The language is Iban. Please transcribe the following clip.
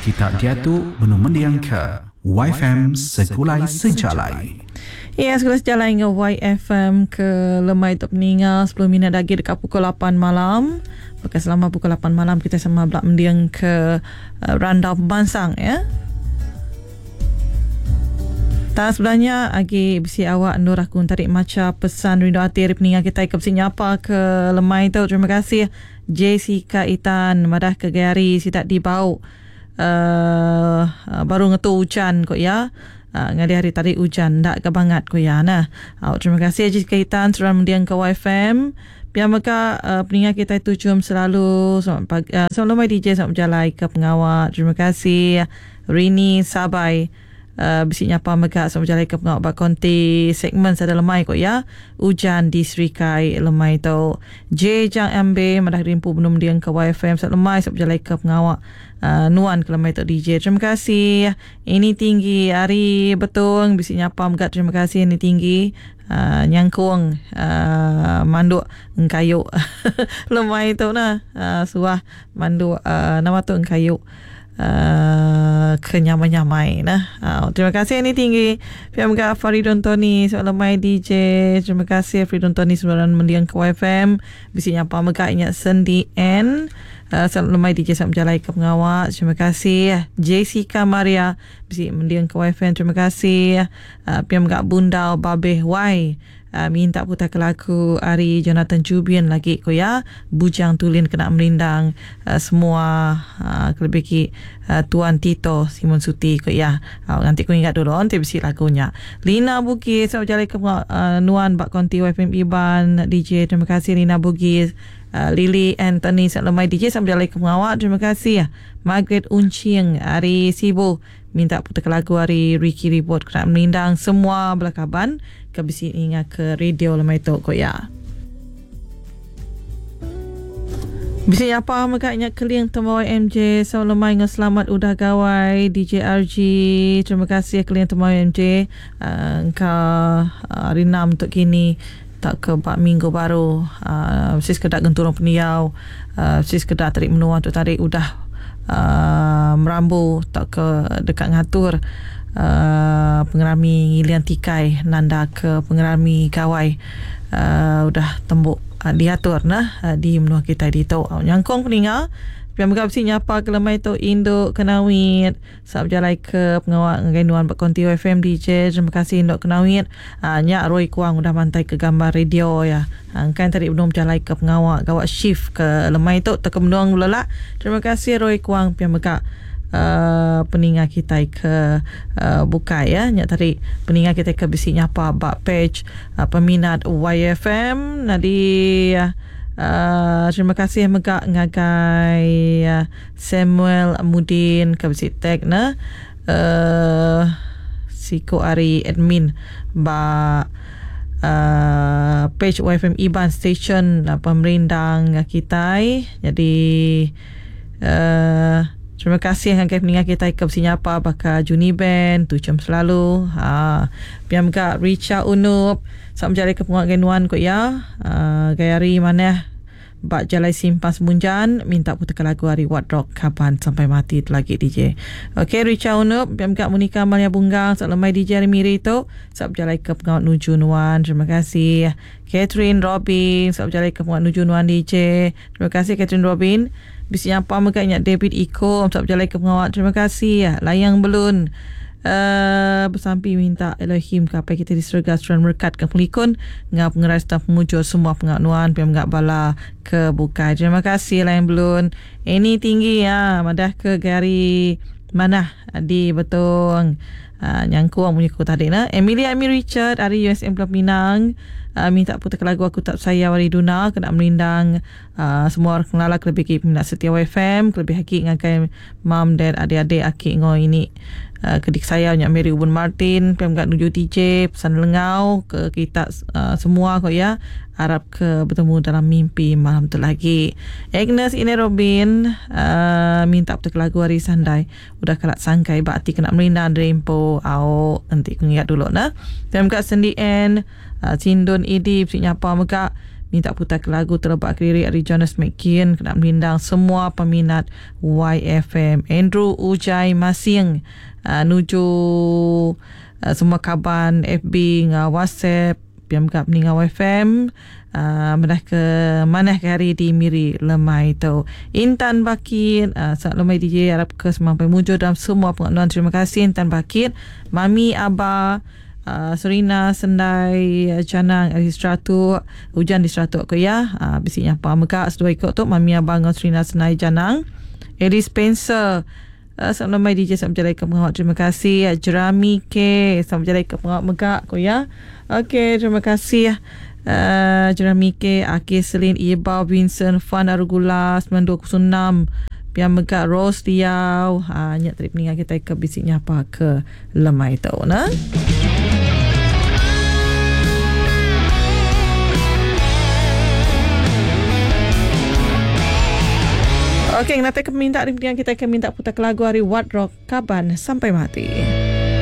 Kita diatu benung mendingka WaiFm Segulai Sejalai. Ya, Segulai Sejalai enggau WaiFm ke lemai tu peninga 10 minit agi deka pukul 8 malam. Baka selama pukul 8 malam kita sama bela mending ke eh, randau pemansang ya. Tak sebelah nya agi bisi awak endur aku tarik macha pesan rindu ati ari peninga kita ke bisi nyapa ke lemai tu. Terima kasih Jessica Itan madah ke gaya hari sida dibau uh, baru ngetu ujan ko iya. Uh, ngalih hari tadi ujan ndak ke bangat ko iya nah. Uh, terima kasih Jessica Itan seruran mending ke YFM. Pia mega uh, peninga kita tuchum selalu selamat pagi uh, selamat lemai DJ selamat berjalai ke pengawa. Terima kasih Rini Sabai. Uh, bisi nyapa mega selamat berjalai ke pengawa ba konti segmen sada lemai ko iya. Ujan di Serikai lemai tu. J Jang MB madah rimpu benung mending ke YFM selamat lemai selamat berjalai ke pengawa uh, nuan ke lemai tu DJ. Terima kasih. Ini tinggi ari Betong bisi nyapa mega terima kasih ini tinggi uh, nyangkung uh, manduk engkayu lemai tu nah uh, suah manduk uh, nama tu engkayu uh, ke nyamai-nyamai nah. Uh, terima kasih ini tinggi. Pihak mega Faridun Tony selamat lemai DJ. Terima kasih Faridun Tony sebenarnya mendiang ke YFM. Bisi nyapa mega ingat Sendi N. Uh, selamat lemai DJ selamat berjalai ke pengawak. Terima kasih Jessica Maria bisi mendiang ke YFM. Terima kasih. Uh, pihak mega Bundau Babeh Y. Uh, minta putar ke lagu ari Jonathan Jubian lagi ko ya Bujang Tulin kena merindang semua kelebih ki Tuan Tito Simon Suti ko ya. Uh, nanti ku ingat dulu nanti bisi lagunya. Lina Bugis selamat berjalai ke uh, nuan bak konti YFM Iban DJ. Terima kasih Lina Bugis. Lily Anthony selamat lemai DJ selamat berjalai ke pengawak. Terima kasih Margaret Uncing ari Sibu minta putar ke lagu ari Ricky Ribot kena merindang semua bala kaban ke bisi ninga ke radio lemai tu ko ya. Bisi nyapa mega nya Keling Tembawai MJ. Selamat lemai enggau selamat udah gawai DJRG. Terima kasih Keling Tembawai MJ. Uh, engka uh, hari 6 tu kini tak ke bak minggu baru uh, mesti sekedar genturung pendiau uh, mesti sekedar tarik menua tu tarik udah uh, merambu tak ke dekat ngatur uh, pengerami ngilian tikai nanda ke pengerami gawai uh, udah tembuk uh, diatur nah uh, di menua kita di tu. Uh, nyangkong peninga Pia mega bisi nyapa ke lemai tu Induk Kenawit. Selamat berjalai ke pengawa ngagai nuan ba konti FM DJ. Terima kasih Induk Kenawit. Ha, nya Roy Kuang udah mantai ke gambar radio ya. Ha, kan tadi benung berjalai ke pengawa gawak shift ke lemai tu teka benung lelak. Terima kasih Roy Kuang pia mega uh, peninga kita ke uh, bukai ya. Nya tadi peninga kita ke bisi nyapa ba page uh, peminat YFM. Nadi uh, Uh, terima kasih mega ngagai uh, Samuel Mudin ke bisi tag na uh, siku ari admin ba uh, page YFM Iban Station uh, pemerindang kita. Jadi uh, terima kasih ngagai peninga kita ke bisi nyapa baka Juni Ben tucum selalu ha piam ga Richa Unup selamat berjalai ke penguat nuan ko ya. Uh, gaya hari mana bak jalai simpas Munjan minta putar lagu hari What Rock kapan sampai mati tu lagi DJ. Okey Richa Unup piam ga Monica Malia Bunggang selamat lemai DJ hari Miri tu selamat berjalai ke penguat nuju nuan. Terima kasih Catherine Robin selamat berjalai ke penguat nuju nuan DJ. Terima kasih Catherine Robin. Bisi nyapa mega ingat David Iko selamat berjalai ke pengawak. Terima kasih Layang Belun. Uh, bersampi minta Elohim ke apa kita di surga seruan merekat ke pelikun ngau pengeras dan pemujur semua pengak nuan piam ngak bala ke bukai. Terima kasih Layang Belun. Ini tinggi ya madah ke gari mana di Betong. Uh, nyangkuang punya ku tadi nah. Emilia Amy Richard dari USM Pulau Pinang uh, minta putar lagu Aku Tak Sayang Wari Duna kena merindang uh, semua orang kenal kelebih ki peminat setia FM kelebih haki ngagai mam dan adik-adik aki ngoi ini uh, kedik saya nyak Mary Ubun Martin piam gak nuju TJ pesan lengau ke kita uh, semua kok ya. Harap ke bertemu dalam mimpi malam tu lagi. Agnes ini Robin uh, minta putar lagu hari Sandai udah kalak sangkai bakti kena merindang rempo au nanti ku ingat dulu nah. Piam gak Sendi N uh, Sindun Idi bisi nyapa mega. Minta putar ke lagu Telebak Kediri ari Jonas McKean kena merindang semua peminat YFM. Andrew Ujai Masing nuju semua kaban FB enggau WhatsApp pia mega peninga YFM madah ke manah ke hari di Miri lemai tu. Intan Bakit selamat lemai DJ arap ke semampai mujur dalam semua pengawa nuan. Terima kasih Intan Bakit. Mami Aba Serina Sendai Chanang ari Seratuk ujan di Seratuk ku iya bisi nyapa mega seduai iko tu Mami Aba enggau Serina Sendai Janang. Ellie Spencer selamat lemai DJ selamat bejalai ke pengawa terima kasih Jerami K selamat bejalai ke pengawa mega ku iya. Okey terima kasih Jerami K Aki Selin Ibau Vincent Fan Arugula 9206 pia mega Rose Liau nya tadi peninga kitai ke bisi nyapa ke lemai tu ne. Okey, ngenatai ke peminta ari peninga kitai ke minta putar ke lagu ari What Rock Kaban Sampai Mati.